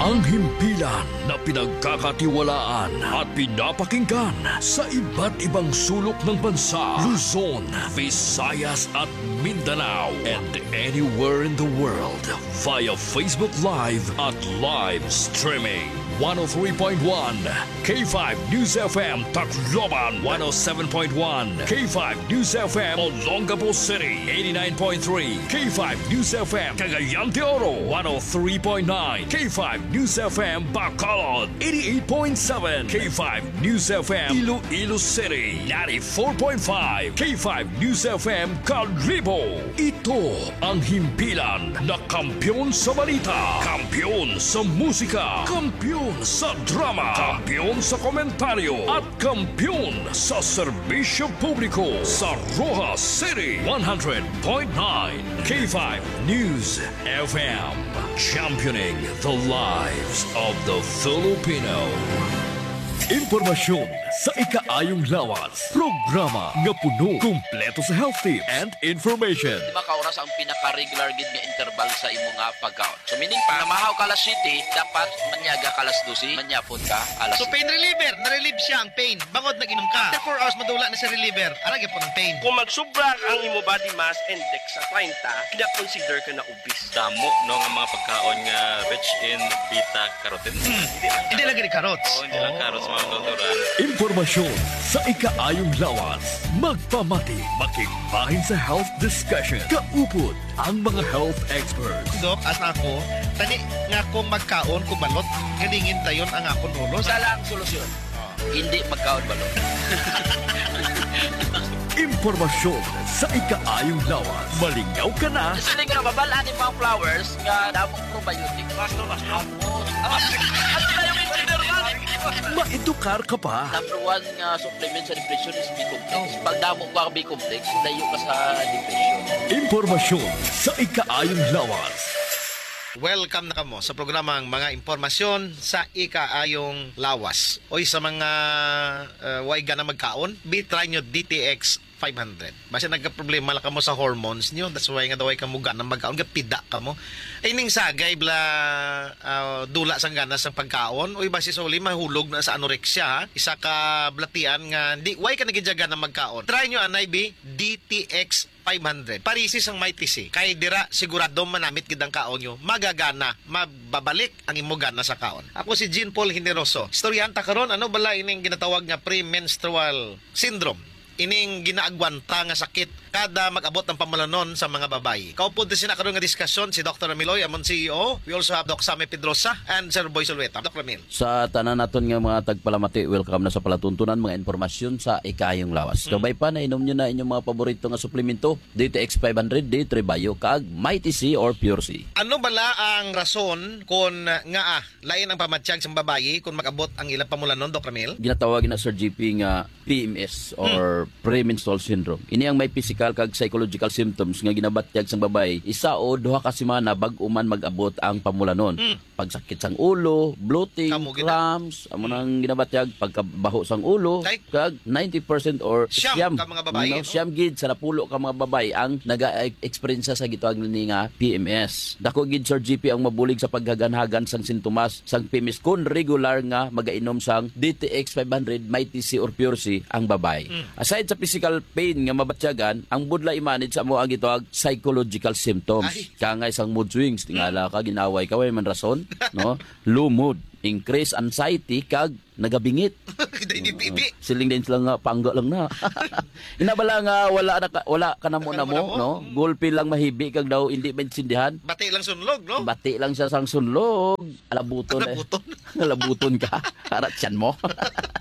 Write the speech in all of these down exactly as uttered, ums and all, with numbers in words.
Ang himpilan na pinagkakatiwalaan at pinapakinggan sa iba't ibang sulok ng bansa, Luzon, Visayas at Mindanao, and anywhere in the world via Facebook Live at live streaming. One oh three point one K five News F M Tacloban, one oh seven point one K five News F M Olongapo City, eighty-nine point three K five News F M Cagayan de Oro, one oh three point nine K five News F M Bacolod, eighty-eight point seven K five News F M Iloilo City, ninety-four point five K five News F M Kalibo. Ito ang himpilan na kampiyon sa balita, kampiyon sa musika, kampiyon sa drama, kampiyon sa komentaryo, at kampiyon sa serbisyo publiko sa Roxas City, one hundred point nine K five News F M. Championing the lives of the Filipino. Impormasyon sa ikaayong lawas. Programa nga puno, kumpleto sa health tips and information. Di ba ka oras ang pinaka-regular gid nga interval sa imo nga pagkaon? So, meaning pa, namahaw ka alas siyete, dapat manyaga ka alas dose, manyapon ka alas So, pain reliever, na-relieve siya ang pain. Bangod nag-inom ka. After four hours, madula na sa reliever. Ara gyapon ang pain. Kung magsubra ang imo body mass index sa treinta, kina-consider ka na obese. Damo, no, nga mga pagkaon nga rich in beta carotene. Hmm. Hindi lang Hindi lang gani carrots. Oo, hindi lang Oo. carrots, mga kulturan. Impormasyon sa ikaayong lawas. Magpamati, makigbahin sa health discussion. Kaupod ang mga health experts. Dok, as ako, tani nga akong magkaon kung balot, galingin dayon ang akong ulo. Sa lang solusyon. Hindi magkaon balot. Impormasyon sa ikaayong lawas. Malingaw ka na. Siling nga, babal-an ni mga flowers nga damo probiotic. Basto, basto. Ano na yung engineer man? Maedukar ka pa. Number one nga supplement sa depression is B complex. Pag damo ka B complex, layo ka sa depression. Impormasyon sa ikaayong lawas. Welcome na kamo sa programang Mga Impormasyon sa Ikaayong Lawas. Oy, sa mga, uh, way gana magkaon, bi, try nyo D T X five hundred. Basta nagka-problema lang kamo sa hormones nyo, that's why nga daw ay kamo gana magkaon, gapida kamo. Ay, ning sagay bala, ah, dula sang gana sang pagkaon, uy, basi sa uli mahulog na sa anorexia, ha? Isa ka balatian nga di, why ka nagidyaga na magkaon? Try nyo anay, bi, D T X five hundred. Parisi sang Mighty C. Kay dira, sigurado manamit gid ang kaon nyo. Magagana, mababalik ang imo gana sa kaon. Ako si Jean Paul Generoso. Istoryahan ta karon, ano bala ining ginatawag nga premenstrual syndrome? Ining ginaagwanta nga sakit kada mag-abot ang pamulanon sa mga babayi. Kaupod ta sina karon nga diskusyon si Doktor Amiloy, amon C E O. We also have Doc Sammy Pedrosa and Sir Boy Sulueta. Doc Ramil. Sa tanan naton nga mga tagpalamati, welcome na sa palatuntunan, mga impormasyon sa ikayong lawas. Mm. Kabay pa, nainom nyo na inyong mga paborito nga suplemento, D T X five hundred, D three Bio, kag Mighty C or Pure C. Ano bala ang rason kon nga, ah, lain ang pamatyag sang babayi kon mag-abot ang ilang pamulanon, Doc Ramil? Ginatawag na, Sir G P, nga P M S or Hmm. premenstrual syndrome. Ini ang may physical kag psychological symptoms nga ginabatyag sang babayi isa o duha ka semana bag-o man mag-abot ang pamulanon. Hmm. Pagsakit sang ulo, bloating, Kamo gid. cramps, amo nang ginabatyag, pagkabaho sang ulo, Tay? kag ninety percent or Siyam siyam, ka mga babayi, no, no? siyam gid sa napulo ka mga babayi ang naga-eksperyensya sa gitawag ni nga P M S. Dako gid, Sir G P, ang mabulig sa paghaganhagan sang sintomas sang P M S kon regular nga magainom sang D T X five hundred, Mighty C or Pure C ang babayi. Mm. Aside sa physical pain nga mabatyagan, ang budlay i-manage sa amo ang gitawag psychological symptoms. Ay. Kangay sang mood swings, tingala ka, ginaway ka, way man rason, no? Low mood, increased anxiety, kag nagabingit. Kita ini bibi. Siling din sila nga, pangga lang na. Ina bala nga wala na ka, wala ka namo-namo, Wala ka namo-namo? no? Mm. Gulpi lang mahibi kag daw hindi maintindihan. Bati lang sunlog, no? Bati lang siya sang sunlog. Alabuton, eh. Alabuton. Alabuton ka. Para tiyan mo.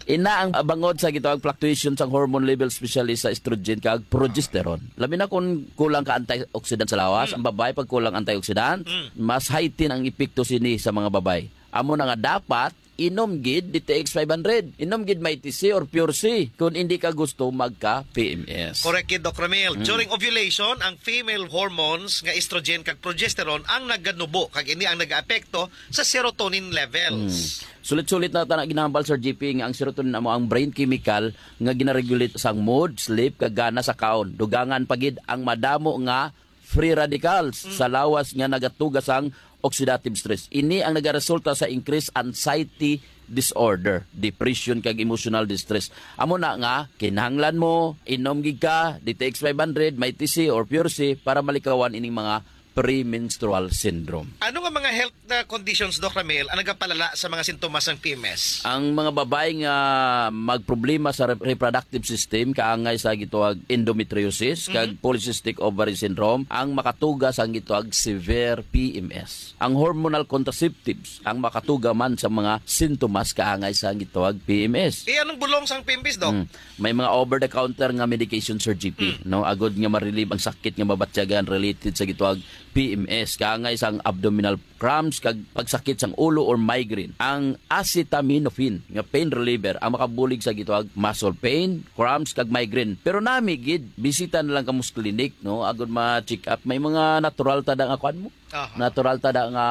Ina ang bangod sa gitawag fluctuation sang hormone level, especially sa estrogen kag progesterone. Labi na kung kulang ka antioxidant sa lawas, Mm. ang babae pag kulang antioxidant, Mm. mas heighten ang epekto sini sa mga babae. Amo na nga dapat inom gid D T X five hundred. Inom gid Mighty C or Pure C kung hindi ka gusto magka P M S. Correct gid, Doc Ramil. Mm. During ovulation, ang female hormones nga estrogen kag progesterone ang naganubo, kag ini ang nagaapekto sa serotonin levels. Mm. Sulit-sulit na ta na ginahambal, Sir G P, nga ang serotonin amo ang brain chemical nga ginaregulate sang mood, sleep, kag gana sa kaon. Dugangan pa gid ang madamo nga free radicals Mm. sa lawas nga nagatuga sang oxidative stress. Ini ang nagaresulta sa increased anxiety disorder, depression, kag emotional distress. Amo na nga, kinahanglan mo inom gid ka D T X five hundred, Mighty C or Pure C para malikawan ining mga premenstrual syndrome. Ano nga mga health na conditions, Doc Ramil, ang nagapalala sa mga sintomas ng P M S? Ang mga babae nga magproblema sa re-, reproductive system, kaangay sa gituwag endometriosis, kag Mhm. polycystic ovary syndrome, ang makatuga sang gituwag severe P M S. Ang hormonal contraceptives, ang makatuga man sa mga sintomas kaangay sa gituwag P M S. Eh, anong bulong sang P M S, Doc? Hmm. May mga over-the-counter nga medication, Sir G P, Hmm. no? Agod nga ma-relieve ang sakit nga mabatyagan related sa gituwag P M S, kaangay sang abdominal cramps kag pagsakit sang ulo or migraine. Ang acetaminophen nga pain reliever ang makabulig sa gituwag muscle pain, cramps kag migraine. Pero nami gid, bisita na lang kamo sa clinic, no? Agod ma-check up. May mga natural ta da nga kuan mo. Aha. Natural ta da nga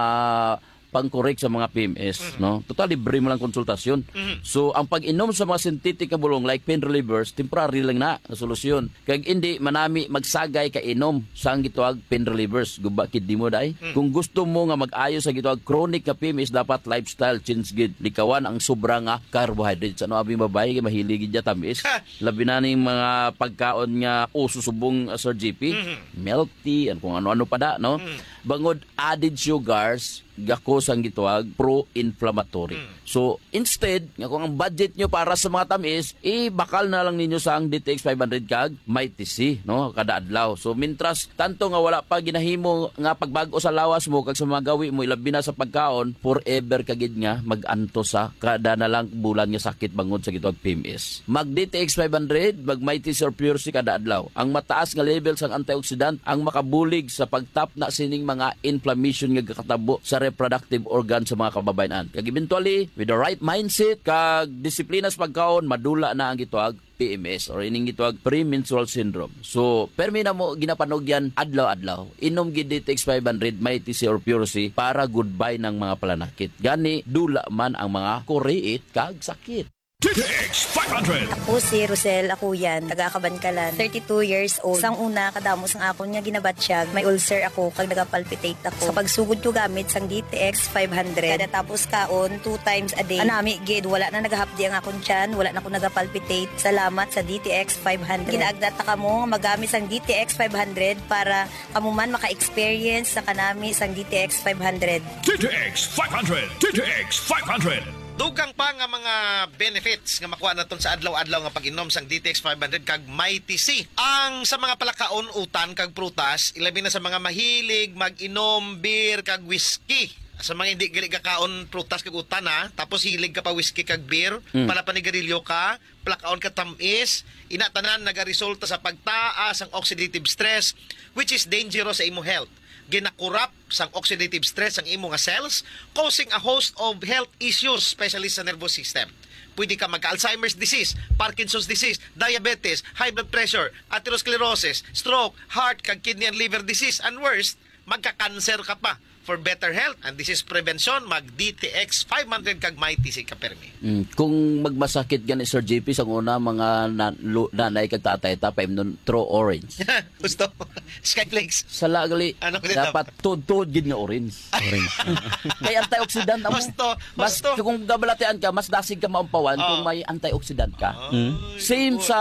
pang-correct sa mga P M S, Mhm. no? Total, libre mo lang konsultasyon. Mhm. So, ang pag-inom sa mga synthetic nga bulong like pain relievers, temporary lang na nga solusyon. Kag indi manami magsagay ka inom sang gituwag pain relievers. Guba kidney mo, day. Hmm. Kung gusto mo nga mag-ayo sa gituwag chronic nga P M S, dapat lifestyle change gid. Likawan ang sobra nga carbohydrates. Ano, abi, babae kay mahilig gid ya tamis. Ha! Labi na ning mga pagkaon nga uso subong, uh, Sir G P. Mhm. Milk tea, and kung ano-ano pa da, no? Hmm. Bangod added sugars, gako sang gituwag pro-inflammatory. Mm. So, instead, nga kung ang budget nyo para sa mga tamis, ibakal na lang ninyo sang D T X five hundred kag Mighty C, no, kada adlaw. So, mintras tanto nga wala pa ginahimo nga pagbag-o sa lawas mo kag sa mga gawi mo, ilabi na sa pagkaon, forever ka gid nga mag-antos sa kada na lang bulan nga sakit bangod sa gituwag P M S. Mag D T X five hundred, mag Mighty C or Pure C kada adlaw. Ang mataas nga level sang antioxidant ang makabulig sa pagtapna sining mga inflammation nga gakatabo sa reproductive organ sa mga kababayen-an. Kag eventually, with the right mindset kag disiplina sa pagkaon, madula na ang gituwag P M S or ining gituwag premenstrual syndrome. So, permi na mo ginapanugyan adlaw-adlaw. Inom gid D T X five hundred, Mighty C or Pure C para goodbye ng mga palanakit. Gani, dula man ang mga kuriit kag sakit. D T X five hundred. Ako si Rosel Akuyan, taga Kabankalan, thirty-two years old. Sang una, kadamo sang akon nga ginabatyag, may ulcer ako kag nagapalpitate ako. Sa pagsugod ko gamit sang D T X five hundred, kada tapos kaon, two times a day. Anami gid, wala na nagahapdi ang akon tiyan, wala na ko nagapalpitate. Salamat sa D T X five hundred. Ginaagda ta kamo nga magamit sang D T X five hundred para kamo man maka-experience sa kanami sang D T X five hundred. D T X five hundred. D T X five hundred. Dugang pa nga mga benefits nga makuha naton sa adlaw-adlaw nga pag-inom sang D T X five hundred kag Mighty C. Ang sa mga palakaon, utan kag prutas, ilabi na sa mga mahilig mag-inom beer kag whiskey. Sa mga hindi gali gakaon prutas kag utan, ha, tapos hilig ka pa whiskey kag beer, Mm. palapanigarilyo ka, palakaon ka tamis, ina tanan nagaresulta sa pagtaas ang oxidative stress, which is dangerous sa imo health. Ginakurap sang oxidative stress ang imo nga cells, causing a host of health issues, especially sa nervous system. Pwede ka magka-Alzheimer's disease, Parkinson's disease, diabetes, high blood pressure, atherosclerosis, stroke, heart, kag kidney and liver disease, and worse, magka-cancer ka pa. For better health, and this is prevention, mag D T X five hundred kag Mighty C ka permi. Mm, kung magmasakit gani, Sir J P, sa una, mga na-, lu-, nanay kag tatay ta, paimnon, throw orange. Gusto? Skyflakes. Sala gali, Ano ko dapat tuod-tuod gid nga orange. Orange. Kay antioxidant amo. Gusto, Mas, gusto. kung gabalatian ka, mas dasig ka maumpawan Oh. kung may antioxidant ka. Ay, Same good. sa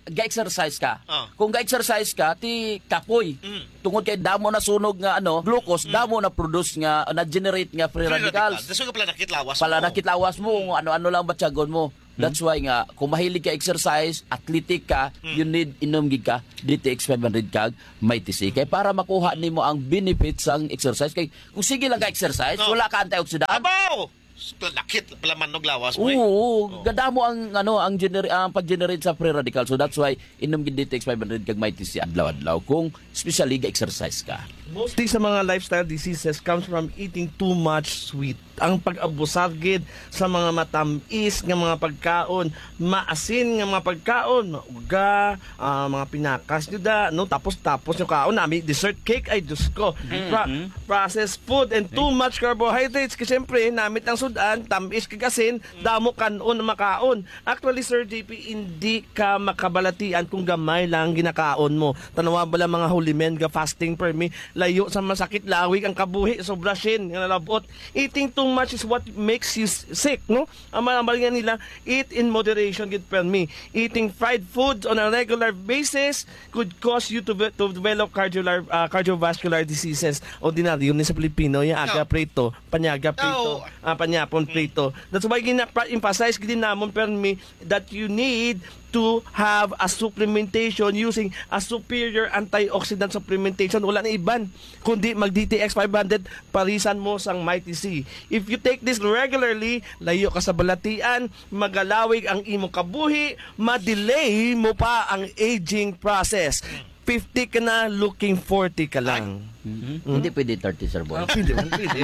ga-exercise ka. Oh. Kung ga-exercise ka, ti kapoy. Mm. Tungod kay damo na sunog nga, ano, glucose, Mm. damo na produce nga, na-generate nga free Free radicals. radical. Daso nga palanakit lawas mo. Palanakit lawas mo, kung ano-ano lang batyagon mo. Mm. That's why nga, kung mahilig ka exercise, athletic ka, Mm. you need inom gid ka, D T X five hundred kag Mighty C. Kay para makuha nimo ang benefits sang exercise. Kay kung sige lang ka exercise, No. wala ka antioxidant. Abaw! Palanakit, palaman og lawas mo, eh. Oo, Oh. gadamo ang, ano, ang gener-, ang pag-generate sa free radical. So that's why inom gid D T X five hundred kag Mighty C adlaw-adlaw kung especially ga-exercise ka. Mostly sa mga lifestyle diseases comes from eating too much sweet. Ang pag-abusar gid sa mga matamis nga mga pagkaon, maasin nga mga pagkaon, mauga, ah, mga pinakas nyo da, no? Tapos, tapos nyo kaon, nami dessert cake, ay, Diyos ko. Mm-hmm. Pra-, processed food and too much carbohydrates. Kasi, siyempre, namit ang An tamis kag asin, damo kan-on ang makaon. Actually, Sir J P, hindi ka makabalatian kung gamay lang ang ginakaon mo. Tanawa bala mga holy men ga fasting permi, layo sa masakit, lawig ang kabuhi, sobra sin nga nalabot. Eating too much is what makes you s- sick, no? Ang mga nga nila, eat in moderation gid permi. Eating fried foods on a regular basis could cause you to, ve- to develop cardiovascular, ah, cardiovascular diseases. Ordinaryo ni sa Pilipino, yung aga No. prito, panyaga prito, No. ah, panyapon prito. That's why gina-emphasize gid namon permi that you need to have a supplementation using a superior antioxidant supplementation. Wala na iban kundi mag D T X five hundred, parisan mo sang Mighty C. If you take this regularly, layo ka sa balatian, magalawig ang imong kabuhi, ma-delay mo pa ang aging process. Fifty ka na, looking forty ka lang. Mhm. Hindi pwede thirty, Sir Boy. Ah, pwede, pwede.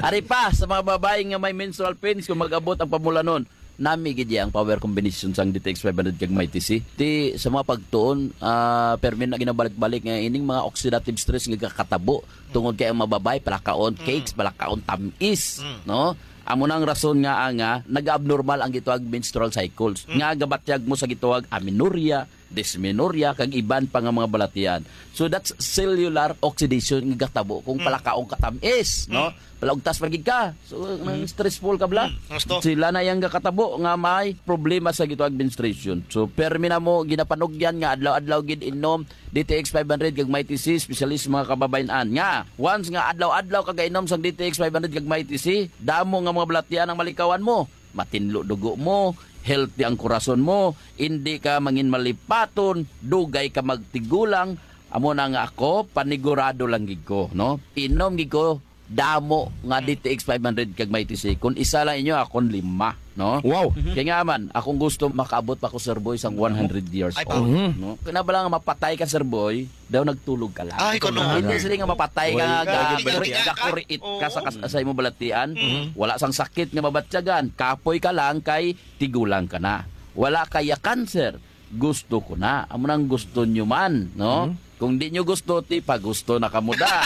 Ari pa, sa mga babae nga may menstrual pains, kung mag-abot ang pamulanon, nami gid iya ang power combination sang D T X five hundred kag Mighty C. Ti, sa mga pagtuon, ah, permi na ginabalik-balik nga ining mga oxidative stress nga kakatabo tungod kay ang mga babae palakaon cakes, palakaon tamis, no? Amo na ang rason nga, ah, nga nag-abnormal ang gitawag menstrual cycles, nga gabatyag mo sa gitawag amenorrhea, dysmenorrhea, kag iban pa nga mga balatian. So that's cellular oxidation nga gatabo kung palakaon ka tamis, no? Palaugtas pa gid ka. So nang stressful ka bala. Mm, gusto. Sila na yang gatabo nga may problema sa gitawag menstruation. So permi na mo ginapanugyan nga adlaw-adlaw gid inom D T X five hundred kag Mighty C, especially sa mga kababayan-an. Nga, once nga adlaw-adlaw ka gainom sang D T X five hundred kag Mighty C, damo nga mga balatian ang malikawan mo. Matinlo dugo mo, healthy ang korason mo, hindi ka mangin malipaton, dugay ka magtigulang. Amo na nga ako, panigurado lang gid ko, no? Inom gid ko damo nga D T X five hundred kag Mighty C. Kung isa lang inyo, akon lima, no? Wow. Kaya nga man, akong gusto makaabot pa ko, Sir Boy, sang one hundred years Ay, old, Mhm. no? Kaya na bala nga mapatay ka, Sir Boy, daw nagtulog ka lang. Ay, kuno. Hindi sila nga mapatay ka Oy, nga ga-, kaya ga-, gid ga-, ka. Gakuriit ka sa kas-, sa imong balatian. Mhm. Wala sang sakit nga mabatyagan. Kapoy ka lang kay tigulang ka na. Wala kaya cancer. Gusto ko na. Amo nang gusto nyo man, no? Mhm. Kung di nyo gusto, ti pa gusto na kamo da.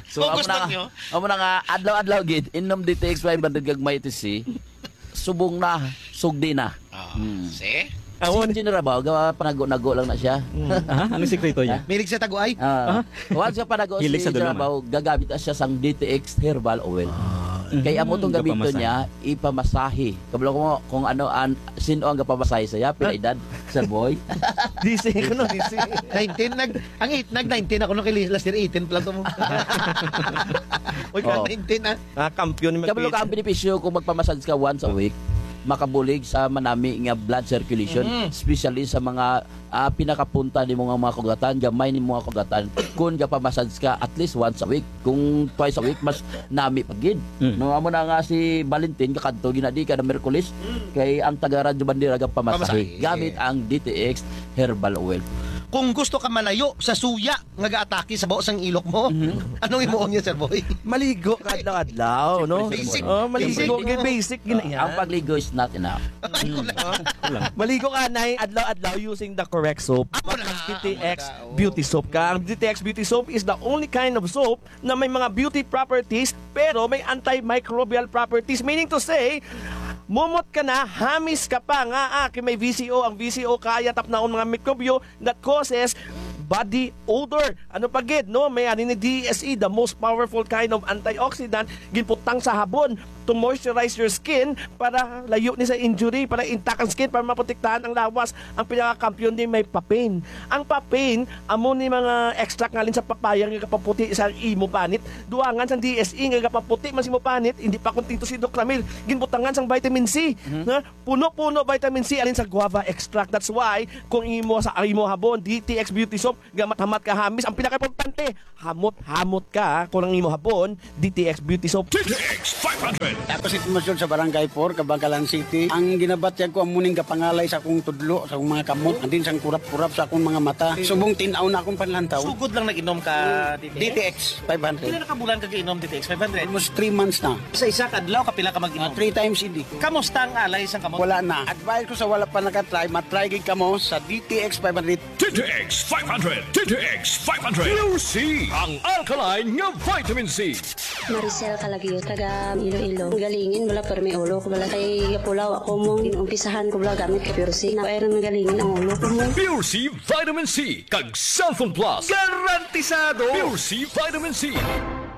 So, Kung amo gusto na, nyo. Amo na nga, adlaw-adlaw gid, inom D T X five hundred kag Mighty C, subong na, sugdi na. Ah, Hmm. see? Awon. Si General Bao, gawa panago-nago lang na siya. Hmm. Ah, ano sikreto niya? Milig sa taguay? Ah, Ah. once nga panago Hilig si sa General dulungan. Bao, gagamit na siya sang D T X herbal oil. Ah. Kay amo tong Mm, gamiton gapamasahe. niya, ipamasahe. Kabalo ko kung ano an, sino ang gapamasahe sa iya, pila Ah. edad, Sir Boy? Gising ko, no, gising. Nineteen, nag, ang eight, nag nineteen ako, no, kay last year eighteen pala to mo. Uy, ka Oh. nineteen, ah. Ah, kampiyon ni Kabalo ka, ang benepisyo kung magpamassage ka once a week, makabulig sa manami nga blood circulation, Mhm. especially sa mga, ah, pinakapunta nimo nga mga kugatan, gamay nimo nga kugatan. Kung gapamassage ka at least once a week, kung twice a week, mas nami pa gid. Mm. No, amo na nga si Valentin, kakadto ginadi kada Miyerkules, Mm. kay ang taga Radyo Bandera gapamasahe Pamasahe. gamit ang D T X Herbal Oil. Kung gusto ka malayo sa suya nga gaatake sa baho sang ilok mo, Mhm. anong imuon niya, Sir Boy? Maligo ka adlaw-adlaw, no? Basic. Oh, maligo, Basic. Kay basic gina Ah, yan. ang pagligo is not enough. Ay, kulang. Ah, kulang. Maligo ka na adlaw-adlaw using the correct soap. Amo na, D T X amo na, oo. Beauty Soap ka. Ang D T X Beauty Soap is the only kind of soap na may mga beauty properties, pero may antimicrobial properties. Meaning to say, mumot ka na, hamis ka pa nga, ah, kay may V C O. Ang V C O kaya tapnaon mga mikrobyo that causes body odor. Ano pa gid, no? May ani ni D S E, the most powerful kind of antioxidant, ginputang sa habon to moisturize your skin para layo ni sa injury, para intact ang skin, para maprotektahan ang lawas. Ang pinakakampiyon ni may papain. Ang papain, amo ni mga extract nga alin sa papaya nga gapaputi sa imo panit. Duangan sang D S E nga gapaputi man sa imo panit, hindi pa kontento si Doc Ramil. Ginbutangan sang vitamin C, Mhm. na puno-puno vitamin C alin sa guava extract. That's why kung imo sa imo habon, D T X Beauty Soap, gamat-hamat ka hamis. Ang pinakaimportante, hamot-hamot ka kung ang imo habon, D T X Beauty Soap. D T X five hundred. Ako si Tomas Jun sa Barangay four, Kabankalan City. Ang ginabatyag ko, amo ning gapangalay sa akong tudlo, sa akong mga kamot, and then sang kurap-kurap sa akong mga mata. Subong tin-aw na akong panlantaw. Sugod lang nag-inom ka, Ah, D T X? D T X five hundred. Pila na ka bulan ka gainom D T X five hundred? Almost three months na. Sa isa ka adlaw, kapila ka mag-inom? Ah, three times a day. Kamusta ang alay sang kamot? Wala na. Advice ko sa wala pa nakatry, matry gid kamo sa D T X five hundred. D T X five hundred. D T X five hundred. Pure C, ang alkaline nga vitamin C. Maricel Calagio, taga Iloilo. Galingin bala, pero may ulo ko bala. Kay gapulaw ako mo, inumpisahan ko bala gamit ka Pure C. Na, pero nagalingin ang ulo ko mo. Pure C Vitamin C, kag Cellphone Plus. Garantisado! Pure C Vitamin C.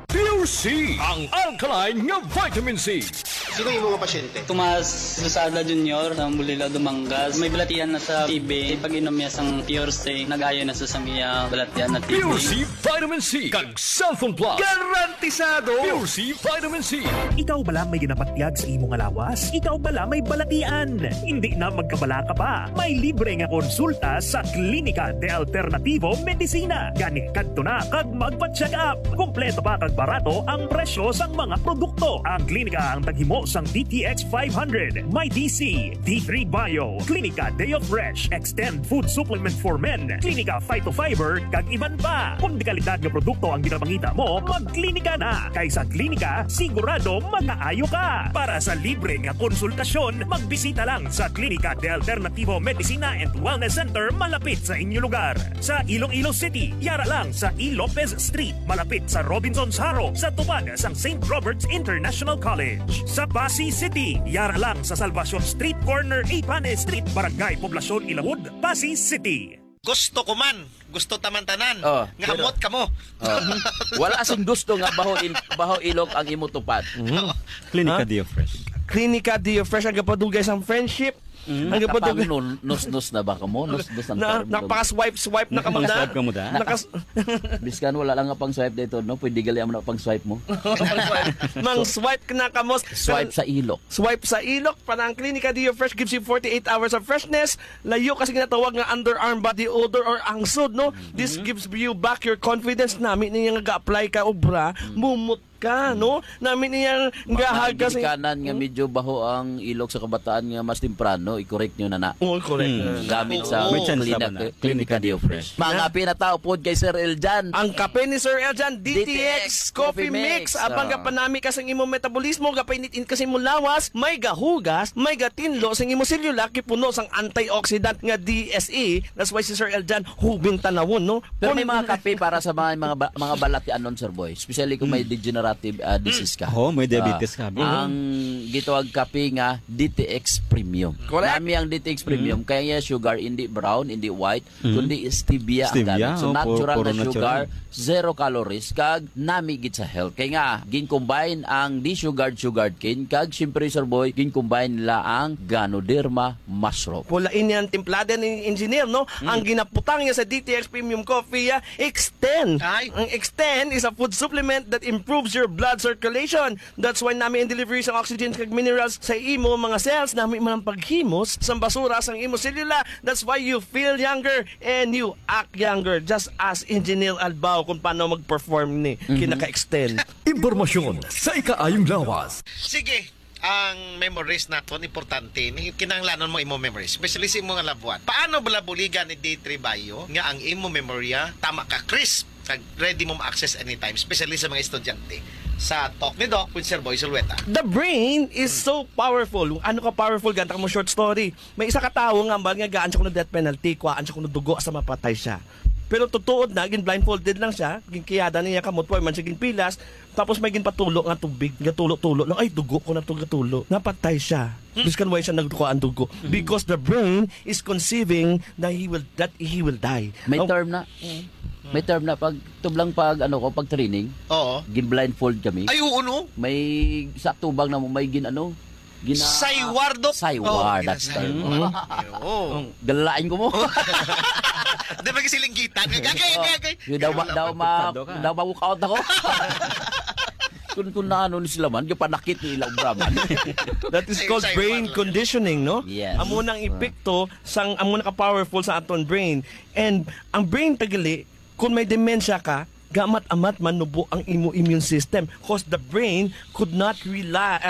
Pure C, ang alkaline nga vitamin C. Sino yung mga pasyente? Tomas Losada Junior, sa Bulila, Dumangas. May balatian na sa T B. Pag-inom niya sang Pure C, nag-ayo na sa sang iya balatian na T B. Pure C Vitamin C, kag Cellphone Plus. Garantisado! Pure C Vitamin C. Ikaw bala may ginapatyag sa imo nga lawas? Ikaw bala may balatian? Hindi na magkabalaka pa. May libre nga konsulta sa Klinika de Alternativo Medicina. Gani, kadto na kag magpa-check up. Kompleto pa kag barato ang presyo sang mga produkto. Ang klinika ang taghimo sang D T X five hundred, may D C, D three Bio, Klinika Deo Fresh, Extend Food Supplement for Men, Klinika Phytofiber, kag iban pa. Kung dekalidad nga produkto ang ginapangita mo, magklinika na. Kay sa klinika, sigurado makaayo ka. Para sa libre nga konsultasyon, magbisita lang sa Klinika de Alternativo Medicina and Wellness Center malapit sa inyo lugar. Sa Iloilo City, yara lang sa E. Lopez Street, malapit sa Robinsons Haro, sa tupad sang Saint Robert's International College. Sa Passi City, yara lang sa Salvacion Street, corner Ipane Street, Barangay Poblacion, Ilawod, Passi City. Gusto ko man. Gusto taman tanan. Oh, nga pero hamot kamo. Oh. Wala sing gusto nga baho il-, baho ilok ang imo tupad. Mhm. Klinika Ha? Dio Fresh. Klinika Dio Fresh, ang gapadugay sang friendship. Mhm. Ang gapadugay. Nakapang nun-, nus-nus na ba kamo? Nus-nus ang Na, term, no? Nakapaka-swipe-swipe na kamo na. Nakapang-swipe kamo da? Nakas- Biskan wala lang nga pang-swipe dito, no? Pwede gali amo na pang-swipe mo. Mang swipe na kamo. Swipe sa ilok. Swipe sa ilok. Para ang Klinika Dio Fresh gives you forty-eight hours of freshness. Layo kasi ginatawag nga underarm body odor or angsod, no? This Mm-hmm. gives you back your confidence. Nami niya nga ga-apply ka obra, Mm. mumot ka, Mm. no? Nami niya Mga nga hag kasi ginikanan nga Mm. medyo baho ang ilok sa kabataan nga mas temprano, i-correct nyo na na. Oo, correct. Mm. Mm. Gamit sa Oo. May chance Klinika, naman na. Klinika Klinika Dio Dio Fresh. Fresh. Mga Yeah. pinataw pod kay Sir Eljan. Ang kape ni Sir Eljan, D T X D T X Coffee Coffee Mix. Mix. Abang Ah. gapanami ka sang imong metabolismo, gapainit-init ka sa imong lawas, may gahugas, may gatinlo sang imong selula, kay puno sang antioxidant nga D S E. That's why si Sir Eljan, hubing tanawon, no? Pero may Kung mga kape para sa mga, mga ba-, mga balatianon, Sir Boy. Especially kung may Mm. degenerative, ah, Mm. disease ka. Oo, may diabetes Ah, ka. ang gitawag kape nga D T X Premium. Correct. Nami ang D T X Premium, Mm. kaya niya sugar, hindi brown, hindi white, Mm. kundi stevia ang Stevia, gamit. So, oh, pu-, natural puro na sugar, natural. Zero calories, kag nami gid sa health. Kay nga, gin-combine ang desugared sugarcane, kag siyempre, Sir Boy, gin-combine nila ang Ganoderma mushroom. Pula ini ang timplada ni Engineer, no? Mm. Ang ginaputang niya sa D T X Premium Coffee, ah, Extend. Ay. Ang Extend is a food supplement that improves your blood circulation. That's why nami ang delivery sa oxygen kag minerals sa imo mga cells. Nami man ang paghimos sa basura sang imo selula. That's why you feel younger and you act younger. Just ask Engineer Albao kung paano mag-perform ni Mhm. kinaka-extend. Impormasyon sa ikaayong lawas. Sige, ang memories naton importante. Ni kinahanglanon mo imo memories, especially sa imo nga labuan. Paano bala buligan ni D three Bio nga ang imo memorya tama ka crisp kag ready mo ma-access anytime, especially sa mga estudyante? Sa talk ni Doc with Sir Boy Zulueta. The brain is so powerful. Ano ka powerful? Ganta mo short story. May isa ka tawo nga ambal nga gaan siya kuno death penalty, kuhaan siya kuno dugo sa mapatay siya. Pero tutuod na, gin blindfolded lang siya, ginkiyada niya kamot, wa man siya ginpilas, tapos may ginpatulo nga tubig, gatulo-tulo lang, ay, dugo ko na to, gatulo. Napatay siya. Hmm. Biskan why siya nagkuhaan dugo. Hmm. Because the brain is conceiving that he will, that he will die. May Oh. term na. Mm. May term na pag tublang pag, ano ko, pag training. Oo. Gin-blindfold kami. Ay, oo, no? May sa tubang na mo, may gin, ano, gina- Saywar, Doc. Saywar, Oo, that's gina-, term. Mm. Oo. Galain ko mo. Di ba kasi linggitan? Kagay, Oo. kagay. Yung daw ma-, daw ma-, Pagpado ka. daw ma-walk out ako. Kung, kung naano ni sila man, yung panakit ni ilang braman. That is Ay, called saywar brain lang. conditioning, no? Yes. Amo nang Ah. epekto sang, amo na ka-powerful sa aton brain. And ang brain tagali, kung may dementia ka, gamat-amat manubo ang imo immune system, 'cause the brain could not rely, uh,